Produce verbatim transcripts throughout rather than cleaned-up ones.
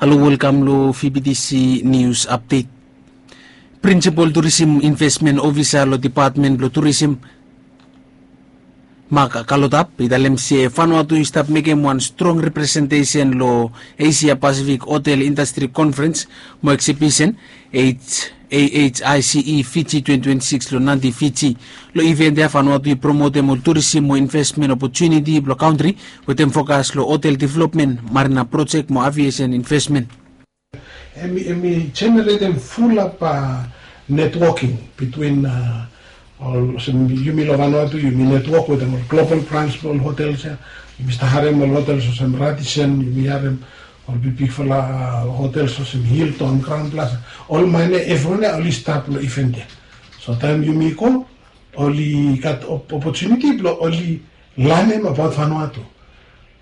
Halo, welkam lo V B T C News Update. Prinsipal Turisim Investment Ofisa lo Depatmen blo Turisim, Mak Kalotap, i talem se Vanuatu i stap mekem wan strong representesen lo Asia Pacific Hotel Industry Conference mo Exhibition, H A H I C E Fiji twenty twenty-six lo Nadi, Fiji. Lo event ya Vanuatu i promotem ol turisim mo investment opportunity blo kantri, wetem fokas lo hotel development, marina project mo aviation investment. Hemi, hemi generatem fulap networking between, uh, ol, olsem yumi lo Vanuatu, yumi network wetem ol global brands blo ol hotels ya. Yumi stap harem ol hotels olsem Radisson, yumi harem ol bigbigfala, uh, hotels olsem Hilton, Crowne Plaza. Ol maine evriwan ya oli stap lo event ya. So taem yumi go, oli gat op-, opportunity blo oli lanem abaot Vanuatu.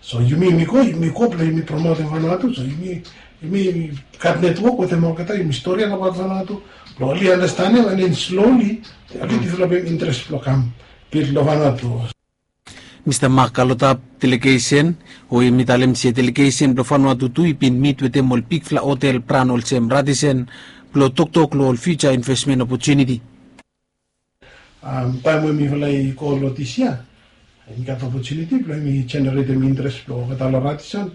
So yumi, yumi go, yumi go blo yumi promotem Vanuatu. So yumi, yumi gat network wetem olgeta, yumi storian abaot Vanuatu blo oli andastanem, and then slowly oli developem interest blo kam build lo Vanuatu. Mista Mak Kalotap delegesen, o yumi talem se delegesen blo Vanuatu tu i bin mit wetem ol bigfala hotel brand olsem Radisson blo toktok lo ol future investment opportunity. Um, taem we mifala i go lo dis yia, mi gat opportunity blo mi generatem interest blo olgeta lo Radisson.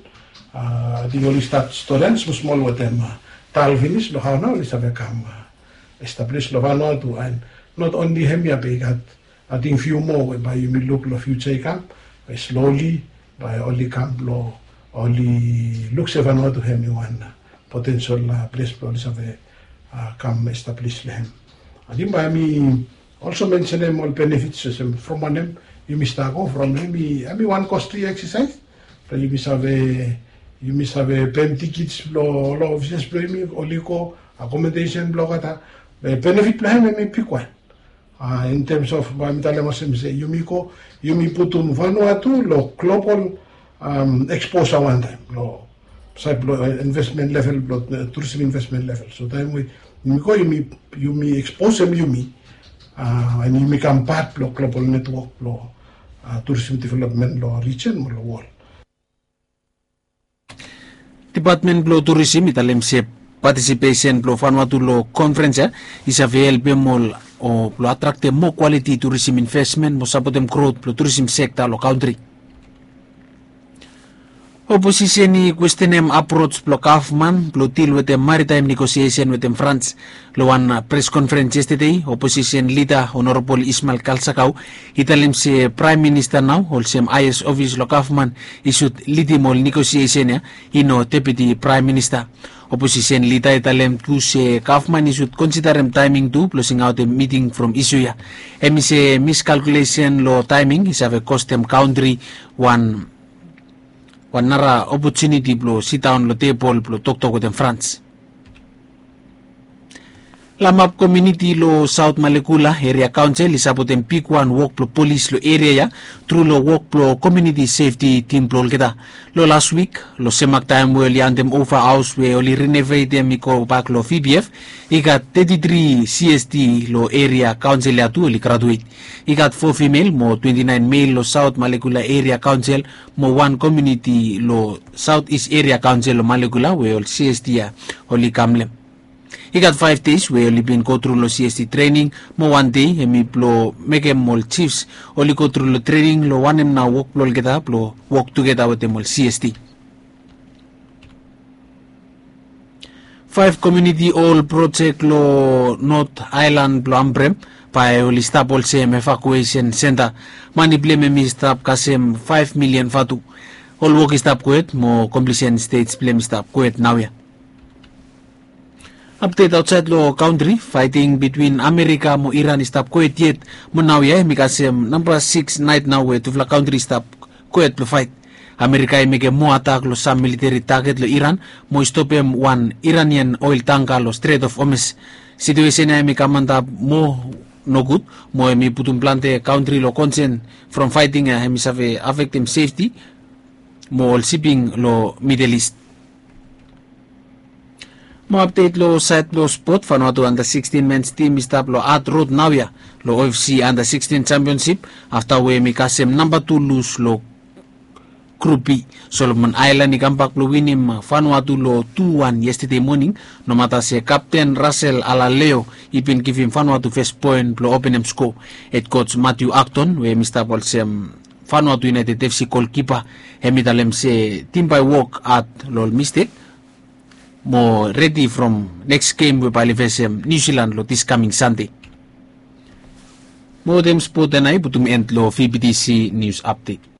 Uh, ating oli stat storian smosmol wetem, uh, tal finis lo hao nao oli save kam, uh, establish lo Vanuatu, and not only hemia be i gat, ating fiu moa we bae yumi luk lo future i kam, we slowly bae oli kam blo oli luk se Vanuatu hemi wan, uh, potential, uh, ples blo oli save, uh, kam establish lo hem. Ating bae mi also mentionem ol benefits olsem from wanem yumi stap go from, hemi, hemi wan costly exercise. Blo yumi save, yumi save pem tickets blo ol officers blo yumi oli go, accommodation blo olgeta. Be benefit blo hem hemi bigwan. Uh, in terms of, bae mi talem olsem se yumi go, yumi putum Vanuatu lo global, um, exposure wantaem lo saed blo, uh, investment level blo, uh, tourism investment level. So taem we yumi go, yumi, yumi exposem yumi, uh, and yumi kam pat blo global network blo, uh, tourism development lo region mo lo world. Depatmen blo Turisim i talem se patisipesen blo Vanuatu lo konferens ya i save helpem ol, o, blo atraktem moa kwaliti turisim investment mo sapotem grot blo turisim sekta lo kantri. Oposisen i kwestenem aproj blo gavman blo dil wetem maritaem negosiesen wetem Frans. Lo wan, uh, pres konferens yestede, oposisen lida Honorabol Ismael Kalsakau i talem se Praem Minista nao, olsem haes ofis lo gavman, i sud lidim ol negosiesen ya, i no Deputi Praem Minista. Oposisen lida i talem tu se gavman i sud konsiderem taeming tu blo singaotem miting from isu ya. Hemi se miskalkulesen lo taeming i save kostem kantri wan, wan nara opotuniti blo sidaon lo tebol blo toktok wetem Frans. Lamap komuniti lo Saot Malekula Eria Kaonsel i sapotem bigwan wok blo polis lo eria ya tru lo wok blo komuniti sefti tim blo olgeta. Lo las wik, lo semak taem we oli handem ova haos we oli renovetem i gobak lo V B F, i gat teti tri C S T lo eria kaonsel ya tu oli gratuet. I gat fo fimel mo twenti naen mel lo Saot Malekula Eria Kaonsel mo wan komuniti lo Saot Is Eria Kaonsel lo Malekula we ol C S T ya oli kam long hem. I gat faef dei we oli bin gotru lo C S T trening, mo wan dei hemi blo mekem ol jifs oli gotru lo trening lo wanem nao wok blo olgeta blo wok tugeta wetem ol C S T. Faef komuniti hol projek lo Not Aelan blo Ambrem bae oli stap olsem evakuesen senta. Mane blong hem i stap kasem faef milian vatu. Ol wok i stap kwet mo komplisen stej blong hem i stap kwet naoia. Apdet aotsaed lo kantri, faeting bitwin Amerika mo Iran i stap kwet yet, mo naoia hem i kasem namba sikis naet nao we tufala kantri i stap kwet blo faet. Amerika i mekem moa atak lo sam militeri taget lo Iran mo i stopem wan Iranian oel tangka lo Strait of Hormuz. Situesen ya hem i kam antap moa nogud, mo hem i putum plante kantri lo konsen from faeting ya hem i save afektem sefti mo ol siping lo Middle East. Mo apdet lo saed blo spot, Vanuatu anda sikistian mens tim i stap lo ad rod naoia lo O F C anda sikistian jampionsip afta we hem i kasem namba tu lus lo Grup B, Solomon Aelan i kambak blong winim Vanuatu long tu wan yestede moning, nomata se kapten Rasel Alaleo i bin givim Vanuatu fes poen blong openem sko. Hed koj Matiu Akton we hem i stap olsem Vanuatu United FC golkipa, hem i talem se tim bae wok had long ol mistek mo redi from neks gem we bae oli fesem Niu Silan long dis kaming Sande. Mo wetem spot ya nao i putum en long VBTC nius apdet.